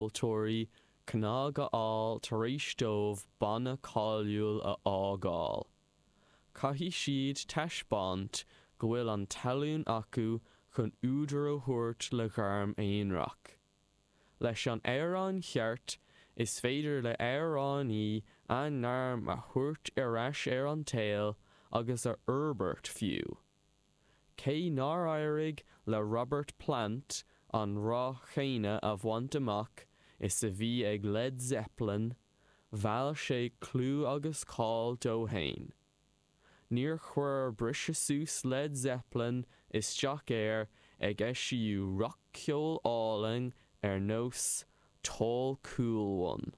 Ceoltóirí cnag a fháil tar éis dóibh banna cáiliúil a fhágáil. Caithfidh siad taispeáint go bhfuil an tallann acu chun údar a thabhairt le gairm aonarach. Leis an amhrán cheart, is féidir le hamhránaí a ngairm a thabhairt ar ais ar an tsaol agus a fhorbairt fiú. Cé nár éirigh le Robert Plant an rath chéanna a bhaint amach is a bhí ag Led Zeppelin, mheall sé clú agus cáil dó fhéin. Níor chuir briseadh suas Led Zeppelin isteach air ag eisiú rac-cheol álainn ar nós Tall Cool One.